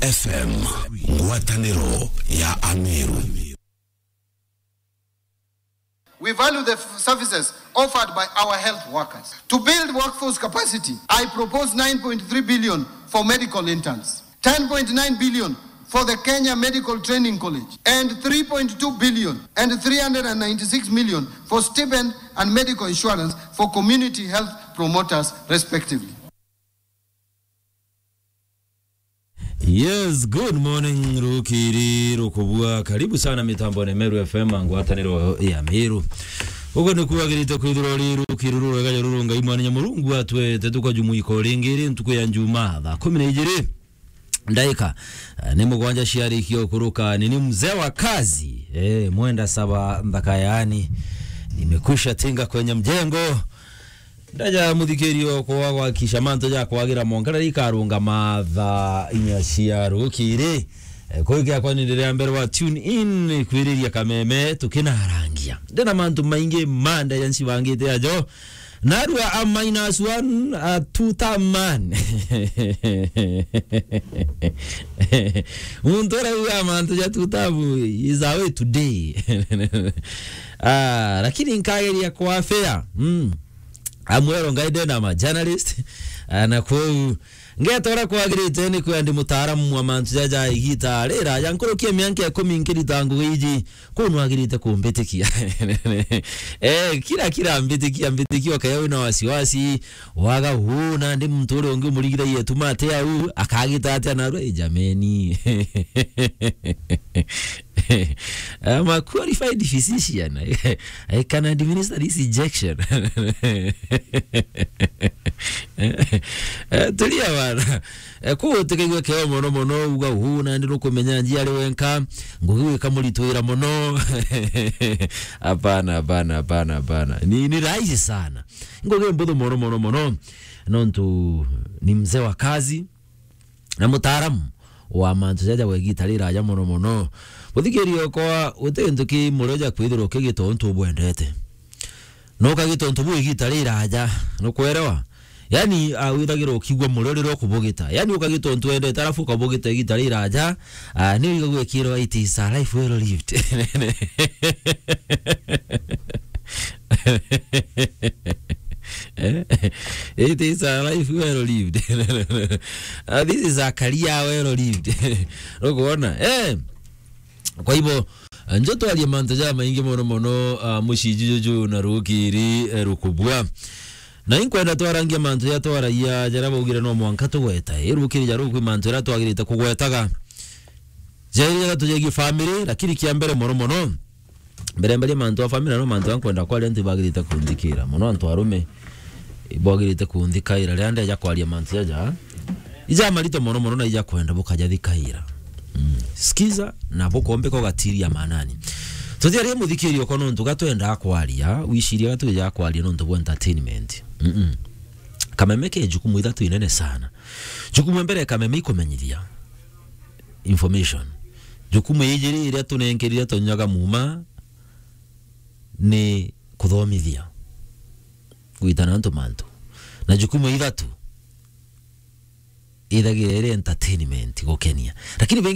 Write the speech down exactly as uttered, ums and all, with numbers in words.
F M, ngwataniro ya Ameru. We value the f- services offered by our health workers. To build workforce capacity, I propose nine point three billion for medical interns, ten point nine billion for the Kenya Medical Training College, and three point two billion and three hundred and ninety-six million for stipend and medical insurance for community health promoters, respectively. Yes, good morning, rukiri rukubua. Karibu sana mitambone Meru F M, ngwataniro ya Meru. Ugo ni kuagirite kwithirwa uri rukiri rurega ruru Ngai Mwana Nyamurungu atwete tukajumuika ringi ri ntuku ya Njumaa thaa kumi na ijiri ndaika, eh, ni mugwanja ciarikia ukuruka. Ni ni mzee wa kazi, eh, mwenda saba nthaka yaani. Nimekwisha tinga kwenye mjengo. Ndaja muthikirio kwa gwakisha mantu ja kwagira mwanka riria ikarungama thaa inya cia rukiri. Eh, kwi giakwa ni riria mbere wa tune in kwiriria kameme tukinarangia. Ndina mantu maingi ma ndaja ncibangite ajo. Narua a minus one, a two term man. Muntu urauga mantu ja two term is away today. Ah, lakini nkageria kwa fair. Mm. Amwero ngai ndena ma journalist, ah, na kwou ngetora kwagirite ni kwenda mutaaramu wa mantu jaja igita rira ya nkurukia mianka ikumi nkirita ngugi iji, kuu nwagirite kumbitikia. Eh, kira, kira mbitikia, mbitikia ukaya wina wasiwasi, waga huu, na ndi muntu uria ungi umurigira yetu mate au, akagita atia narua, eh, jameni. I'm a qualified physician. I can administer this injection. Eh, tulia bana. Eh, kuu utikaigue keo mono mono, uga, "Uu, nandi nukumenya njiari wenka, ngugi wika muritwira mono." Hapana, hapana, hapana, hapana. Ni, ni rahisi sana. Ngugi mbuthu mono, mono, mono. Nontu ni mzee wa kazi, na mutaaramu wa mantu jaja gwa igita riraja mono mono. Muthikiria okwa, guti gintu ki murio ja kwithirwa ukigita untu ubwendete. Na ukagita untu buu igita riraja, nukwerewa? Yani, ah, withagirwa ukigua murio riria ukubugita. Yani, ukagita untu wendete, alafu ukabugita igita riraja, ah, ni wigagua ikirwa, "It is a life well lived." Eh? It is a life well lived. Ah, this is a career well lived. Ukwona? Eh. Kwa hivyo, njo twarie mantu ja maingi mono mono, ah, muciji juju na rukiri, eh, rukubua. Na inkwenda twarangia mantu ja twaragia jaria baugire no mwanka tugweta. I rukiri ja ruku mantu jaria twagirite kugwetaga. Jairi jaria tujegie family, lakini kia mbere mono mono, mbere mbarie mantu a family, no mantu ankwenda kwaria, antu ibagirite kunthikira. Mono antu arume, ibagirite kunthikaira. Riria ndeja kwaria mantu jaja, ija marito mono mono na ija kwenda bukajathikaira. Mm. Sikiza na bukombeka ugatiria manani. Tutiarie muthikiri okwa nontu gatwenda kwaria, wiciria gatwija kwaria nontu bwa entertainment. Mm-mm. Kameme ke jukumu ithatu inene sana. Jukumu ya mbere ya Kameme ikumenyithia information. Jukumu ya ijiri iria tunenkerire tonyaga muma ni kuthomithia, gwitana antu mantu. Na jukumu ya ithatu ithagira iri entertainment, gukenia. Lakini baingi